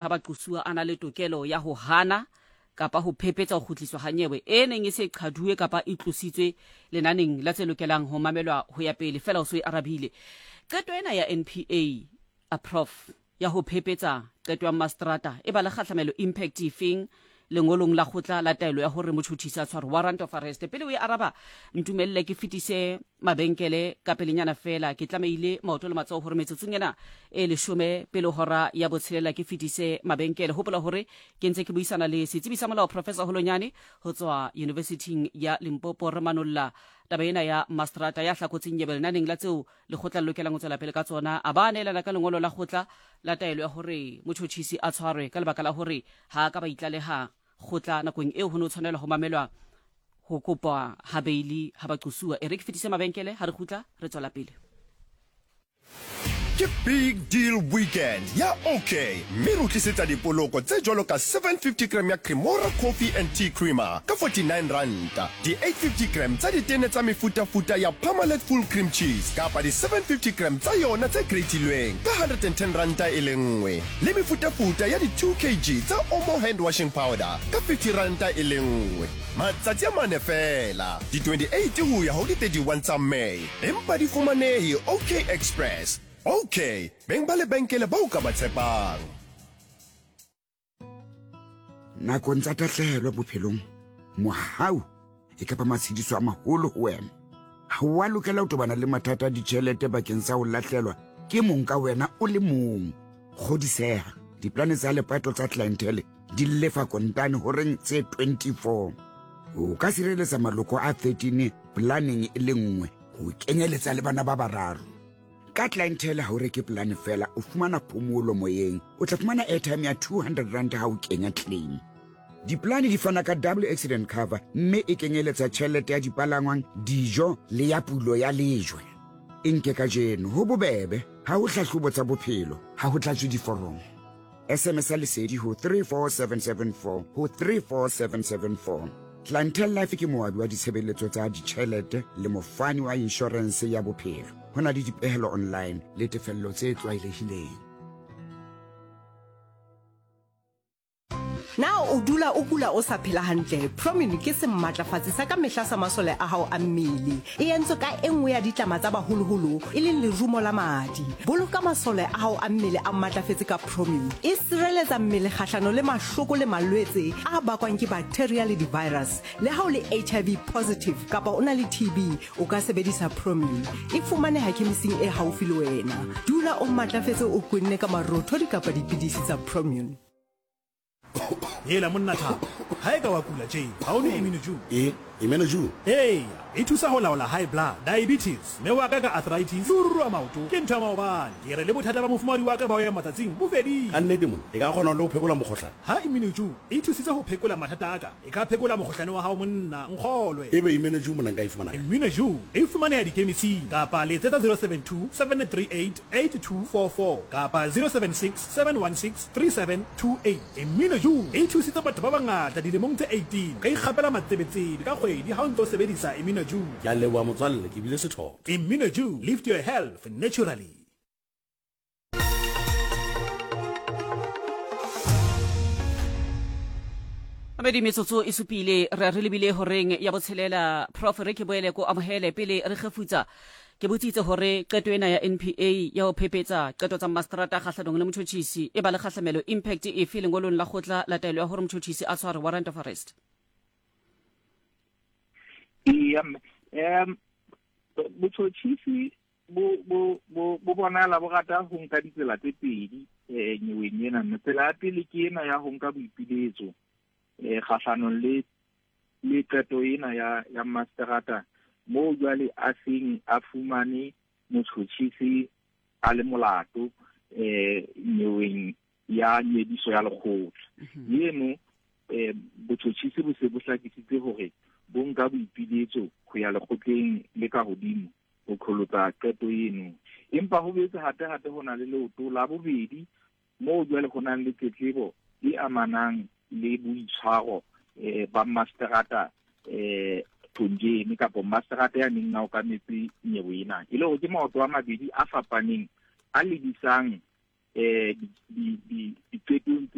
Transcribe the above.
Ha baqosuwa a na le tokelo ya ho hana kapa ho phephetsa ho kgutliswa ha nyewe e neng e se e qhaduwe kapa e tlositswe lenaneng la tse lokelang ho mamelwa ho ya pele, feela o so e arabile. Qeto ena ya NPA, a Prof, ya ho phephetsa qeto ya mmaseterata e ba le kgahlamelo, impact, efeng lengolong la kgotla la taelo ya hore motjhotjhisi a tshwarwe, warrant of arrest? Pele o e araba, ntumelle ke fetise mabenkele ka pelenyana feela. Ke tlamehile maoto le matsoho hore metsotsong ena e leshome pele hora ya botshelela ke fetise mabenkele. Hopola hore ke ntse ke buisana le setsebi sa molao Professor Holonyane ho tswa Yunivesithing ya Limpopo. Re manolla taba ena ya mastrata ya hlakotseng nyebe lenaneng la tseo lekgotla le lokelang ho tswela pele ka tsona. A ba neelana ka lengolo la kgotla la taelo ya hore motjhotjhisi a tshwarwe ka lebaka la hore ha a ka ba itlaleha kgotla nakong eo ho ne ho tshwanelwa ho mamelwa ho kopa ha beili ha baqosuwa. E re ke fetise mabenkele, ha re kgutla re tswela pele. Ke Big Deal Weekend ya OK mme re o tlisetsa dipoloko tse jwalo ka 750 gram ya Cremora Coffee and Tea Creamer ka 49 ranta, di 850 gram tsa ditene tsa mefutafuta ya Parmalat Full Cream Cheese kapa di 750 gram tsa yona tse gratilweng ka 110 ranta e le nngwe, le mefutafuta ya di 2 kg tsa Omo Hand Washing Powder ka 50 ranta e le nngwe. Matsatsi a mane feela, di 28 ho ya ho di 31 tsa May. Empa di fumanehe OK Express. OK, beng ba lebenkele bao ka ba tshepang. Nakong tsa tahlehelo bophelong, mohau e ka ba matshediso a maholo ho wena. Ha o a lokela ho tobana le mathata a ditjhelete bakeng sa ho lahlelwa ke mong ka wena o le mong. Kgodiseha, diplane tsa lepato tsa Clientele di lefa kontane horeng tse 24. O ka sireletsa maloko a 13 polaneng e le nngwe ho kenyeletsa le bana ba bararo. Ka Clientele ha o reke polane fela, o fumana phomolo moyeng. O tla fumana airtime ya 200 rand ha o kenya claim. Dipolane di fana ka double accident cover mme e kenyeletsa tjhelete ya dipalangwang, dijo le ya pulo ya lejwe. E nke kajeno, ho bobebe, ha ho hlahlobo tsa bophelo, ha ho tlatswe diforomo. SMS ya Lesedi ho 34774 ho 34774. Clientele Life ke moabi wa ditshebeletso tsa ditjhelete le mofani wa inshorense ya bophelo. Ho na le dipehelo online le tefello tse tlwaelehileng. Na o dula o kula o sa phela hantle? Promin ke sematlafatsi sa ka mehla sa masole a hao a mmele. E entswe ka e nngwe ya ditlama tsa baholoholo, e leng lerumo la madi. Boloka masole a hao a mmele a matlafetse ka Promin. E sireletsa mmele kgahlano le mahloko le malwetse a bakwang ke bacteria le di-virus. Le ha o le HIV positive kapa o na le TB, o ka sebedisa Promin. E fumaneha khemising e haufi le wena. Dula o matlafetse o kwenne ka marothodi kapa dipidisi tsa Promin. Hela monna Thabo, ha e ka wa kula tje, ha o nwe Immunoju? E, Immunoju? Eya, e thusa ho laola high blood, diabetes, mme wa ka ka arthritis le ho ruruha maoto ke ntho ya maobane. Ke re le bothata ba mofumahadi wa ka ba ho ya matsatsing bo fedile. Ka nnete monna, e ka kgona le ho phekola mokgohlane? Ha Immunoju e thusitse ho phekola mathata a ka, e ka phekola mokgohlane wa hao monna, nkgolwe. Ebe Immunoju monna nka e fumana kae? Immunoju e fumaneha dikemising kapa letsetsa 072 738 8244 kapa 076 716 3728. Mmino Ju e thusitse batho ba bangata dilemong tse 18. O ka ikgapela matsebetsebe ka kgwedi ha o ntse o sebedisa Imino Ju. Ke a leboha motswalle, ke bile sethotho. Imino Ju, lift your health naturally. Mabedi metsotso e supile re re lebile horeng ya botshelela. Prof, re ke boele ko amohele pele re kgefutsa. Ke botsitse hore qeto ena ya NPA ya ho phephetsa qeto tsa mmaseterata kgahlanong le motjhotjhisi e ba le kgahlamelo, impact, efe lengolong la kgotla la taelo ya hore motjhotjhisi a tshwarwe, warrant of arrest. Eya mme, botjhotjhisi bo bo bo bo bonala bo rata ho nka ditsela tse pedi nyeweng ena mme. Tsela ya pele ke ena ya ho nka boipiletso kgahlanong le le qeto ena ya ya masterata moo jwale a seng a fumane motjhotjhisi a le molato nyeweng ya nyediso ya lekgotla. Eno botjhotjhisi bo se bo hlakisitse hore bo nka boipiletso ho ya lekgotleng le ka hodimo ho qholotsa qeto eno. Empa ho boetse hape hape ho na le leoto la bobedi moo jwale ho nang le tletlebo e amanang le boitshwaro ba masterata Thonjeni kapa masterata ya neng a okametse nyewe ena. E le hore ke maoto a mabedi a fapaneng a lebisang eh diqetong.